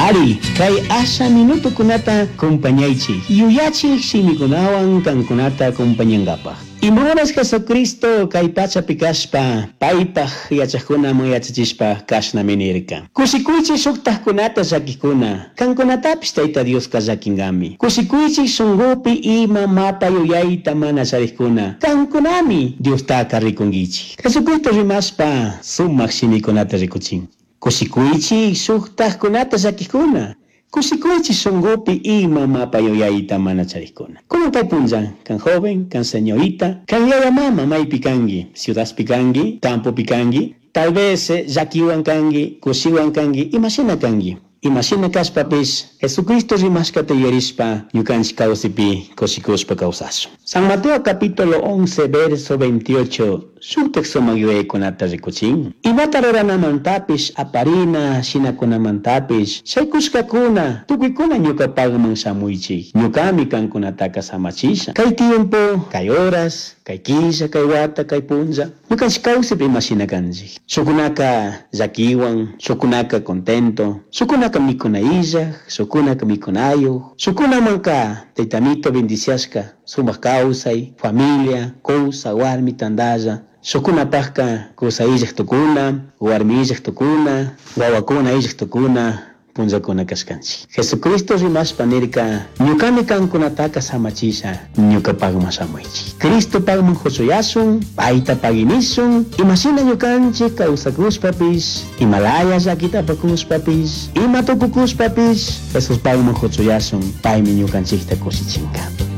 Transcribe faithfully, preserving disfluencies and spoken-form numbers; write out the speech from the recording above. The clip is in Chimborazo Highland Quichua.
Ari, kay asha minutokunata compañaychik, yuyachik shimikunawan kankunata acompañangapaj. Ima horas Jesucristo kay pachapi kashpa, paypaj yachajkunaman yachachishpa kashnami nirka. Kushikuychik shuktajkunata llakikkuna, kankunatapish Tayta Dioska llakinkami. Kushikuychik shunkupi ima mapa yuyayta mana charikkuna, kankunami Diostaka rikunkichik. Jesucristo rimashpa sumak shimikunata rikuchin. Kushikuychik shuktajkunata llakikkuna, kushikuychik shunkupi ima mapa yuyayta mana charikkuna. Kunan kay punlla, kan joven, kan señorita, kan yaya mama maypi kanki, ciudadpi kanki, campopi kanki, tal vez llakiwan kanki, kushiwan kanki, imashina kanki. Imashina kashpapish Jesucristo rimashkata yuyarishpa ñukanchik kawsipi kushikushpa kawsashun. San Mateo capítulo once verso veintiocho shuktak sumak yuyaykunata rikuchin. Imata ruranamantapish aparina shinakunamantapish shaykushkakuna tukuykuna ñukapakman shamuychik. Ñukami kankunataka samachisha. Kay tiempo, kay horas, kay killa, kay wata, kay punlla, ñukanchik kawsipi imashina kanchik. Shukunaka llakiwan, shukunaka contento, shukunaka mikuna illaj, shukunaka mikunayuq, shukunamanka Tayta bendiciashka, sumak kawsay, familia, kusa, warmi tantalla, shukunapakka kusa illaj tukuna, warmi illaj tukuna, wawakuna illaj tukuna, punllakuna kashkanchik. Jesucristo rimashpa nirka, ñukami kankunataka samachisha, ñukapakman shamuychik. Cristopakman huchuyashun, payta paginishun, imashina ñukanchik kawsakushpapish, imalaya llakita apakushpapish, ima tukukushpapish, Jesuspakman huchuyashun, paymi ñukanchikta kushichinka.